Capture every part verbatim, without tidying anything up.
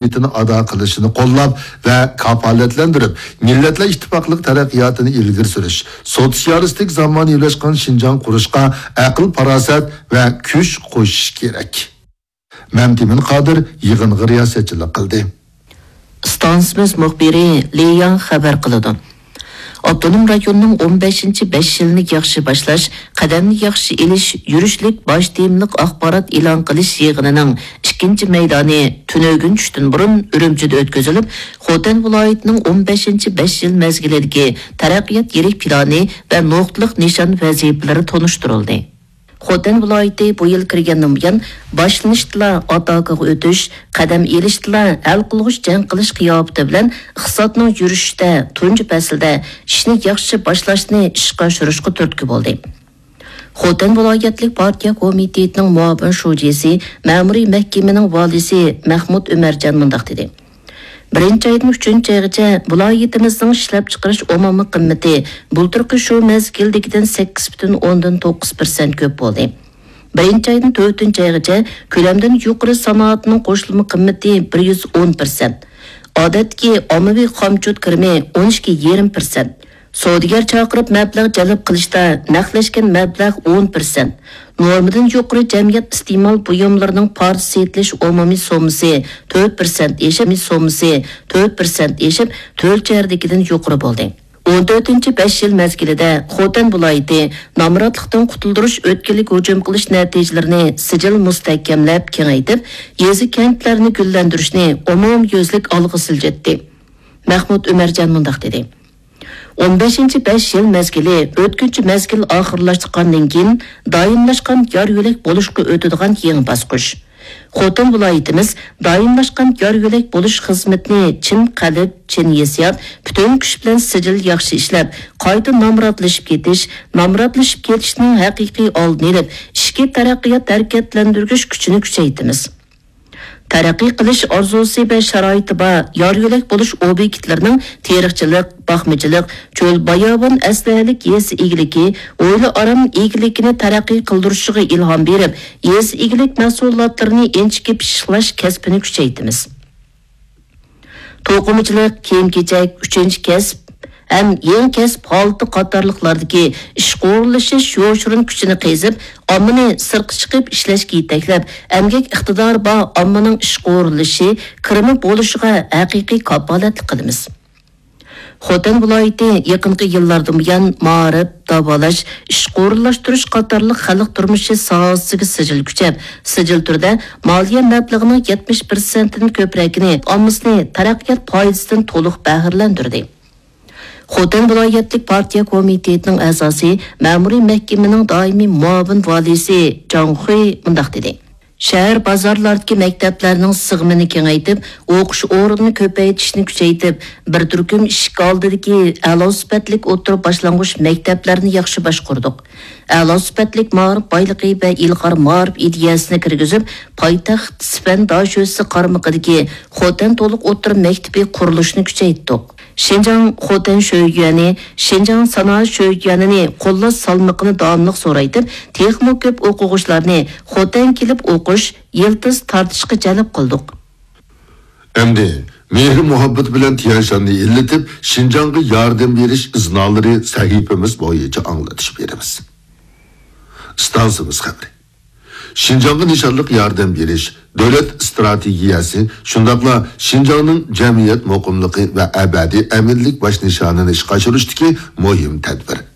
مەسئۇلىيىتىنى ئادا قىلىشىنى قوللاپ ۋە كاپالەتلەندۈرۈپ، مىللەتلەر ئىتتىپاقلىقى تەرەققىياتىنى ئىلگىرى سۈرۈش، سوتسىيالىستىك زامانىۋىلاشقان شىنجاڭ قۇرۇشقا ئەقىل-پاراسەت ۋە كۈچ قوشۇش كېرەك. مەمتىمىن قادىر يىغىنغا رىياسەتچىلىك قىلدى. ئىستانسىمىز مۇخبىرى لى ياڭ خەۋەر قىلىدۇ. ئاپتونوم رايوننىڭ ئون بەشىنچى بەش يىلنى ياخشى باشلاش، قەدەمنى ياخشى ئېلىش يۈرۈشلۈك باش تېمىلىق ئاخبارات ئېلان قىلىش يىغىنىنىڭ ئىككىنچى مەيدانى تۈنۈگۈن چۈشتىن بۇرۇن ئۈرۈمچىدە ئۆتكۈزۈلۈپ، خوتەن ۋىلايىتىنىڭ ئون بەشىنچى بەش يىل مەزگىلىدىكى تەرەققىيات يىرىك پىلانى ۋە نۇقتىلىق نىشان ۋەزىپىلىرى تونۇشتۇرۇلدى. خوتەن ۋىلايىتى بۇ يىل كىرگەندىن بۇيان، باشلىنىشتىلا ئاتاكىغا ئۆتۈش، قەدەم ئېلىشتىلا ھەل قىلغۇچ جەڭ قىلىش قىياپىتى بىلەن ئىقتىسادنىڭ يۈرۈشۈشىدە تۇنجى پەسىلدە ئىشنى ياخشى باشلاشنى ئىشقا ئاشۇرۇشقا تۈرتكە بولدى. خوتەن ۋىلايەتلىك پارتىيە كومىتېتىنىڭ مۇئاۋىن شۇجىسى، مەمۇرىي مەھكىمىنىڭ ۋالىسى مەھمۇت ئۆمەرجان مۇنداق دېدى. بىرىنچى ئايدىن ئۈچىنچى ئايغىچە ۋىلايىتىمىزنىڭ ئىشلەپچىقىرىش ئومۇمىي قىممىتى بۇلتۇرقى شۇ مەزگىلدىكىدىن سەككىز پۈتۈن ئوندىن توققۇز پىرسەنت كۆپ بولدى. بىرىنچى ئايدىن تۆتىنچى ئايغىچە كۆلەمدىن يۇقىرى سانائەتنىڭ قوشۇلما قىممىتى بىر يۈز ئون پىرسەنت، ئادەتتىكى ئاممىۋى خامچوت كىرىمى ئون ئىككى يېرىم پىرسەنت، سودىگەر چاقىرىپ مەبلەغ جەلپ قىلىشتا نەقلەشكەن مەبلەغ ئون پىرسەنت، نورمىدىن يۇقىرى جەمئىيەت ئىستېمال بۇيۇملىرىنىڭ پارچە سېتىلىش ئومۇمىي سوممىسى تۆت پىرسەنت ئېشىپ، سوممىسى تۆت پىرسەنت ئېشىپ، تۆت شەھەردىكىدىن يۇقىرى بولدى. ئون تۆتىنچى بەش يىل مەزگىلىدە خوتەن ۋىلايىتى نامراتلىقتىن قۇتۇلدۇرۇش ئۆتكىلىگە ھۇجۇم قىلىش نەتىجىلىرىنى سىجىل مۇستەھكەملەپ كېڭەيتىپ، يېزا، كەنتلەرنى گۈللەندۈرۈشنى ئومۇميۈزلۈك ئالغا سىلجىتتى. مەھمۇت ئۆمەرجان مۇنداق دېدى. ئون بەشىنچى بەش يىل مەزگىلى ئۆتكۈنچى مەزگىل ئاخىرلاشقاندىن كېيىن دائىملاشقان يار يۆلەك بولۇشقا ئۆتىدىغان يېڭى باسقۇچ. خوتەن ۋىلايىتىمىز دائىملاشقان يار يۆلەك بولۇش خىزمىتىنى چىن قەلب، چىن ھېسسىيات، پۈتۈن كۈچ بىلەن سىجىل ياخشى ئىشلەپ، قايتا نامراتلىشىپ كېتىش، نامراتلىشىپ كېتىشنىڭ ھەقىقىي ئالدىنى ئېلىپ، ئىچكى تەرەققىيات ھەرىكەتلەندۈرگۈچ كۈچىنى كۈچەيتىمىز. تەرەققىي قىلىش ئارزۇسى ۋە شارائىتى بار يار يۆلەك بولۇش ئوبيېكتلىرىنىڭ تېرىقچىلىق، باقمىچىلىق، چۆل، باياۋان ئەسلىھەلىك يېزا ئىگىلىكى، ھويلا ئارام ئىگىلىكىنى تەرەققىي قىلدۇرۇشىغا ئىلھام بېرىپ، يېزا ئىگىلىك مەھسۇلاتلىرىنى ئىنچىكە پىششىقلاش كەسپىنى كۈچەيتىمىز. توقۇمىچىلىق، كىيىم-كېچەك، ئۈچىنچى كەسىپ ھەم يېڭى كەسىپ ھالىتى قاتارلىقلاردىكى ئىشقا ئورۇنلىشىش يوشۇرۇن كۈچىنى قېزىپ، ئاممىنى سىرتقا چىقىپ ئىشلەشكە يېتەكلەپ، ئەمگەك ئىقتىدارى بار ئاممىنىڭ ئىشقا ئورۇنلىشىشى، كىرىمى بولۇشىغا ھەقىقىي كاپالەتلىك قىلىمىز. خوتەن ۋىلايىتى يېقىنقى يىللاردىن بۇيان مائارىپ، داۋالاش، ئىشقا ئورۇنلاشتۇرۇش قاتارلىق خەلق تۇرمۇشى ساھەسىگە سىجىل كۈچەپ، سىجىل تۈردە مالىيە مەبلىغىنىڭ يەتمىش پىرسەنتتىن كۆپرەكىنى ئاممىسىنى تەرەققىيات پايدىسىدىن تولۇق بەھرىلەندۈردى. خوتەن ۋىلايەتلىك پارتىيە كومىتېتىنىڭ ئەزاسى، مەمۇرىي مەھكىمىنىڭ دائىمىي مۇئاۋىن ۋالىيسى جاڭ خۇي مۇنداق دېدى. شەھەر بازارلاردىكى مەكتەپلەرنىڭ سىغىمىنى كېڭەيتىپ، ئوقۇش ئورنىنى كۆپەيتىشنى كۈچەيتىپ، بىر تۈركۈم ئىشىك ئالدىدىكى ئەلا سۈپەتلىك ئوتتۇرا باشلانغۇچ مەكتەپلەرنى ياخشى باشقۇردۇق. ئەلا سۈپەتلىك مائارىپ بايلىقى ۋە ئىلغار مائارىپ ئىدىيەسىنى كىرگۈزۈپ، پايتەخت سىفەن داشۆسى قارمىقىدىكى خوتەن تولۇق ئوتتۇرا مەكتىپى قۇرۇلۇشىنى كۈچەيتتۇق. شىنجاڭ خوتەن شۆيۈەنى، شىنجاڭ سانائەت شۆيۈەنىنى قوللاش سالمىقىنى داۋاملىق زورايتىپ، تېخىمۇ كۆپ ئوقۇغۇچىلارنى خوتەن كېلىپ ئوقۇش، يىلتىز تارتىشقا جەلپ قىلدۇق. ئەمدى مېھىر-مۇھەببەت بىلەن تيەنشاننى ئىللىتىپ، شىنجاڭغا ياردەم بېرىش ئىزنالىرى سەھىپىمىز بويىچە ئاڭلىتىش بېرىمىز. ئىستانسىمىز خەۋىرى. شىنجاڭغا نىشانلىق ياردەم بېرىش دۆلەت ئىستراتېگىيەسى، شۇنداقلا شىنجاڭنىڭ جەمئىيەت مۇقىملىقى ۋە ئەبەدىي ئەمىنلىك باش نىشانىنى ئىشقا ئاشۇرۇشتىكى مۇھىم تەدبىر.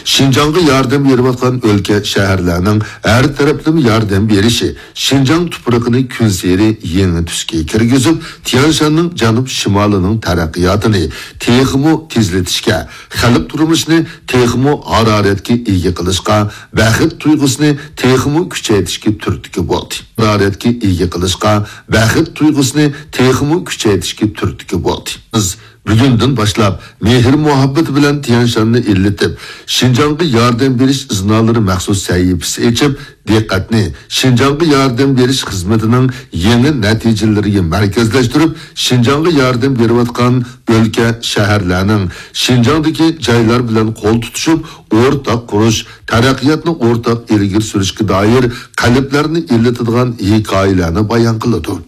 شىنجاڭغا ياردەم بېرىۋاتقان ئۆلكە، شەھەرلەرنىڭ ھەر تەرەپلىمە ياردەم بېرىشى شىنجاڭ تۇپرىقىنى كۈنسېرى يېڭى تۈسكە كىرگۈزۈپ، تيەنشاننىڭ جەنۇب شىمالىنىڭ تەرەققىياتىنى تېخىمۇ تېزلىتىشكە، خەلق تۇرمۇشىنى تېخىمۇ ھارارەتكە ئىگە قىلىشقا، بەخت تۇيغۇسىنى تېخىمۇ كۈچەيتىشكە تۈرتكە بولدى. ھارارەتكە ئىگە قىلىشقا، بەخت تۇيغۇسىنى تېخىمۇ كۈچەيتىشكە تۈرتكە بولدى. بىز بۈگۈندىن باشلاپ مېھىر-مۇھەببىتى بىلەن تيەنشاننى ئىللىتىپ، شىنجاڭغا ياردەم بېرىش ئىزنالىرى مەخسۇس سەھىپىسى ئېچىپ، دىققەتنى شىنجاڭغا ياردەم بېرىش خىزمىتىنىڭ يېڭى نەتىجىلىرىگە مەركەزلەشتۈرۈپ، شىنجاڭغا ياردەم بېرىۋاتقان ئۆلكە، شەھەرلەرنىڭ شىنجاڭدىكى جايلار بىلەن قول تۇتۇشۇپ، ئورتاق قۇرۇش، تەرەققىياتنى ئورتاق ئىلگىرى سۈرۈشكە دائىر قەلبلەرنى ئىللىتىدىغان ھېكايىلەرنى بايان قىلىدۇ.